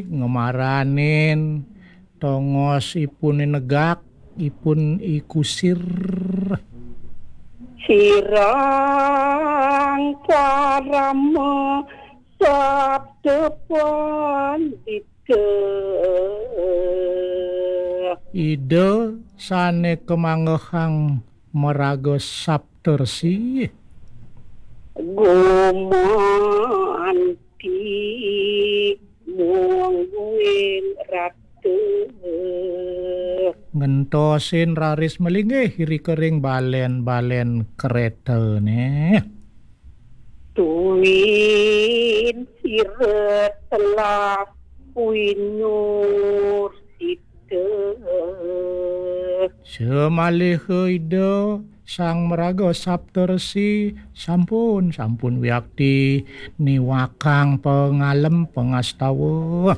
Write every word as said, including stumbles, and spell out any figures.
ngemaranin tongos ipun negak, ipun ikusir. Sirang parama sabda pandita. Ida sane kemanggehang maraga saptersi. Gumanti mungguing ratu. Ngentosin raris melinggih irika ring balen-balen kretane. Tuin sira telah winur sita. Semaliha Ida Sang Maraga Saptersi sampun, sampun wiakti niwakang pangalem pangastawa.